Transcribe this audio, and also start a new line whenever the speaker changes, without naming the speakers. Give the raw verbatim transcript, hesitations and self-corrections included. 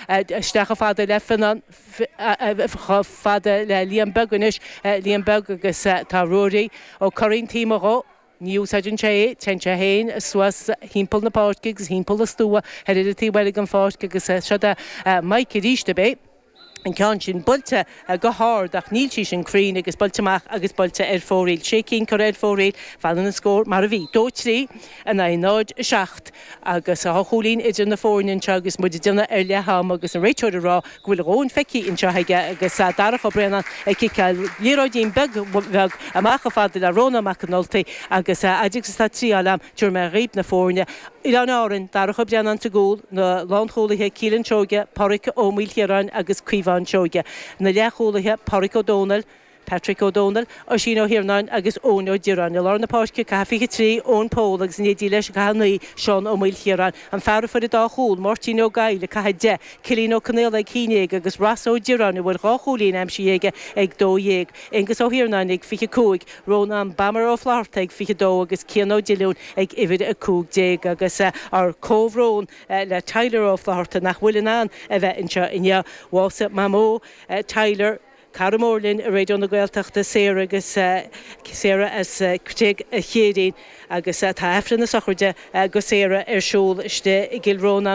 Isteach chomh fada le Fionnán, chomh fada le Liam Beag anois, Liam Beag agus tá Ruairí Ó Curraoin taobh amuigh dhó. Ní úsáideann sé é, téann sé féin suas thimpeall na páirce agus thimpeall an stua ar an taobh eile den pháirc agus seo é Mike arís ab é. An ceann sin buailte go hard ach níl sí sin cruinn agus buailte amach agus buailte ar fóraoil. Sé cinn curtha ar fóraoil, fanann an scór mar a bhí, dó trí in aghaidh náid a seacht agus dhá chúilín idir na foirne anseo agus muid ag déanamh ar leath ama agus an réiteoir ag rá go bhfuil a dhóthain feicthe anseo aige agus Darach Ó Braonáin ag ciceáil liathróidín beag bheag amach chomh fada le Rónán Mac an Ultaigh agus fhad agus atá triáil a'm tabharfaidh mé dhaoib na foirne. Oileáin Árann, Darach Ó Braonáin sa gcúl, na lánchúlaithe Keelan Seoige, Páraic Ó Maoilchiaráin agus Caomhán Seoige. Na leathchúlaithe Páraic Ó Dónaill, Patrick Ó Dónaill, Oisín Ó hIarnáin agus Eoin Ó Direáin. I lár na páirce, caitheamh fiche trí, Eoin Pól agus in éindí leis, caitheamh naoi, Seán Ó Maoilchiaráin. An fear a fuair an dá chúl, Máirtín Ó Gabhla, caitheamh deich, Cillian Ó Conaola ag haon déag agus Ross Ó Direáin a bhfuil dhá chúilín aimsithe aige ag dó dhéag. Aengus Ó hIarnáin ag fiche cúig, Rónán Bammer Ó Flatharta ag fiche dó agus Cian Ó Diliúin ag uimhir a cúig déag. Agus ár comhbhrón le Tyler Ó Flatharta nach bhfuil in ann a bheith anseo inniu. Bhásaigh Mamó Tyler, cara mór linn i Raidió na Gaeltachta, Sarah agus Sarah as Creag a' Chéirín agus tá Aifreann na sochraide go Sarah ar siúl istigh i gCill Rónáin.